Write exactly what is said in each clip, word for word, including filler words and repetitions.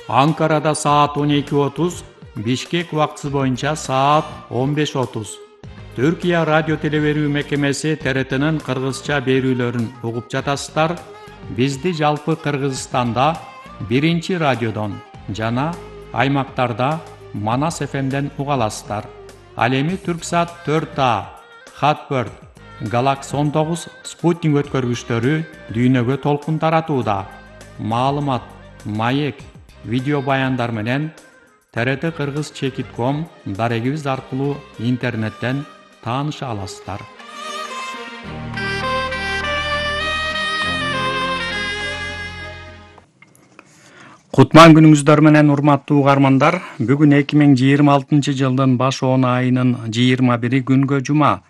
Анкарада саат он эки отуз, Бишкек убактысы боюнча саат он беш отуз. Түркия радио телеберүү мекемеси Т Р Т'нин кыргызча берүүлөрүн угуп жатасыздар. Бизди жалпы Кыргызстанда биринчи радиодон жана аймактарда Манас Ф M'ден уга аласыздар. Ал эми Түрксат төрт А, Хатберт, Галакс он тогуз спутник өткөргүчтөрү дүйнөгө толкун таратууда. Маалымат, маек, видео баяндар менен Т Р Т Кыргыз чекит ком дарегибиз аркылуу интернеттен тааныша аласыздар. Кутман күнүңүздөр менен урматтуу угармандар. Бүгүн эки миң жыйырма алтынчы жылдын баш он айынын жыйырма бири күнгө жума.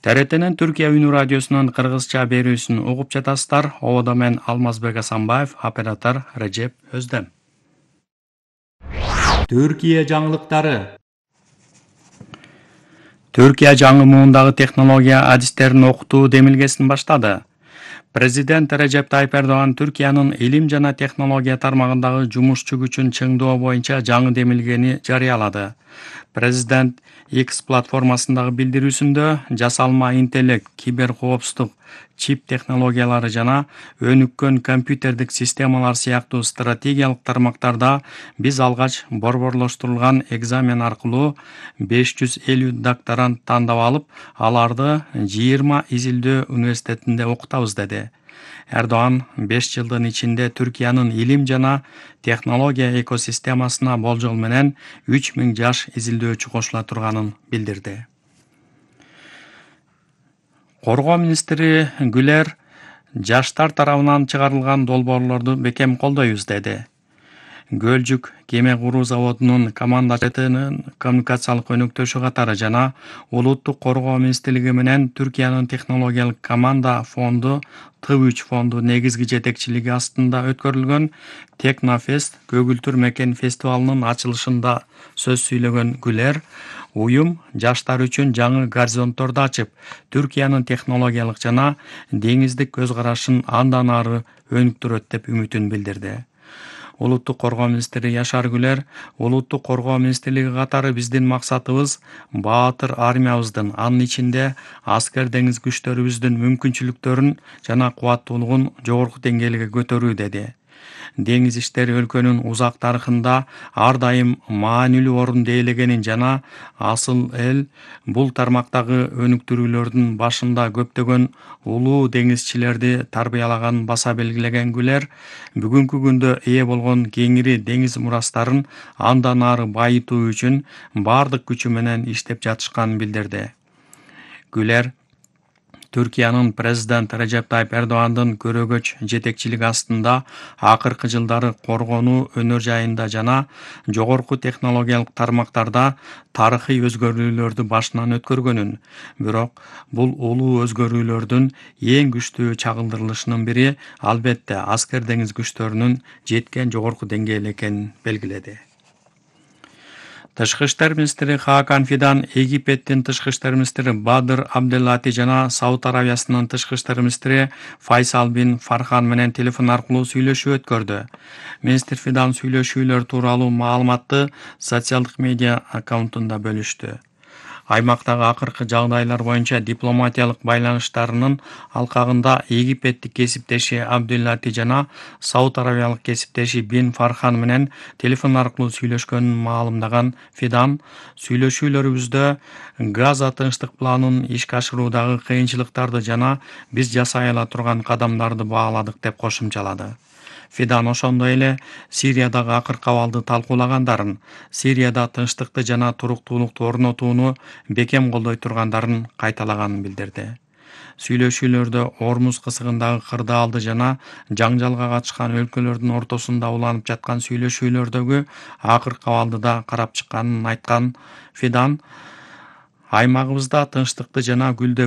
Т Р Т'нин Түркия үнү радиосунун кыргызча берүүсүн угуп жатасыздар. Ободо мен Алмазбек Асанбаев, оператор Режеп Өздем. Түркия жаңылыктары. Түркия жаңы муундагы технология адистерин окутуу демилгесин баштады. Президент Режеп Тайып Эрдоган Түркиянын илим жана технология тармагындагы жумушчу күчүн чыңдоо боюнча жаңы демилгени жарыялады. Президент X платформасындагы билдирүүсүндө жасалма интеллект, киберкоопсуздук, чип технологиялары жана өнүккөн компьютердик системалар сыяктуу стратегиялык тармактарда биз алгач борборлоштурулган экзамен аркылуу беш жүз элүү докторант тандап алып, аларды жыйырма изилдөө университетинде окутабыз деди. Эрдоган беш жылдын ичинде Түркиянын илим жана технология экосистемасына болжол менен үч миң жаш изилдөөчү кошула турганын билдирди. Коргоо министри Гүлер жаштар тарабынан чыгарылган долбоорлорду бекем колдойбуз деди. Гөлжүк кеме куруу заводунун командачынын коммуникациялык өнөктөшү катары жана улуттук коргоо министрлиги менен Түркиянын технологиялык команда фонду Т үч фонду негизги жетекчилиги астында өткөрүлгөн Технофест көгүлтүр мекен фестивалынын ачылышында сөз сүйлөгөн Гүлер, уюм жаштар үчүн жаңы горизонтторду ачып, Түркиянын технологиялык жана деңиздик көз карашын андан ары өнүктүрөт деп үмүтүн билдирди. Улуттук коргоо министри Яшар Гүлер, улуттук коргоо министрлиги катары биздин максатыбыз баатыр армиябыздын, анын ичинде аскер деңиз күчтөрүбүздүн мүмкүнчүлүктөрүн жана кубаттуулугун жогорку деңгээлге көтөрүү деди. Деңиз иштери өлкөнүн узак тарыхында ар дайым маанилүү орунду ээлегенин жана асыл эл бул тармактагы өнүктүрүүлөрдүн башында көптөгөн улуу деңизчилерди тарбиялаганын баса белгилеген Гүлер, бүгүнкү күндө ээ болгон кеңири деңиз мурастарын андан ары байытуу үчүн бардык күчү менен иштеп жатышканын билдирди. Гүлер Түркиянын президент Режеп Тайып Эрдогандын көрөгөч жетекчилиги астында акыркы жылдары коргонуу өнөр жайында жана жогорку технологиялык тармактарда тарыхый өзгөрүүлөрдү башынан өткөргөнүн, бирок бул улуу өзгөрүүлөрдүн эң күчтүү чагылдырылышынын бири албетте аскер деңиз күчтөрүнүн жеткен жогорку деңгээл экенин белгиледи. Тышкы иштер министри Хакан Фидан Египеттин тышкы иштер министри Бадыр Абделлати жана Сауд Аравиясынын тышкы иштер министри Файсал бин Фархан менен телефон аркылуу сүйлөшүү өткөрдү. Министр Фидан сүйлөшүүлөр тууралуу маалыматты социалдык медиа аккаунтунда бөлүштү. Аймактагы акыркы жагдайлар боюнча дипломатиялык байланыштарынын алкагында Египеттик кесиптеши Абделлати жана Сауд Аравиялык кесиптеши Бин Фархан менен телефон аркылуу сүйлөшкөнүн маалымдаган Фидан, сүйлөшүүлөрүбүздө Газа тынчтык планын ишке ашыруудагы кыйынчылыктарды жана биз жасай ала турган кадамдарды бааладык деп кошумчалады. Фидан ошондой эле Сириядагы акыркы абалды талкуулагандарын, Сирияда тынчтыкты жана туруктуулукту орнотууну бекем колдой тургандарын кайталаганын билдирди. Сүйлөшүүлөрдө Ормуз кысыгындагы кырдаалды жана жаңжалга катышкан өлкөлөрдүн ортосунда уланып жаткан сүйлөшүүлөрдөгү акыркы абалды да карап чыкканын айткан Фидан, аймагыбызда тынчтыкты жана гүлдөө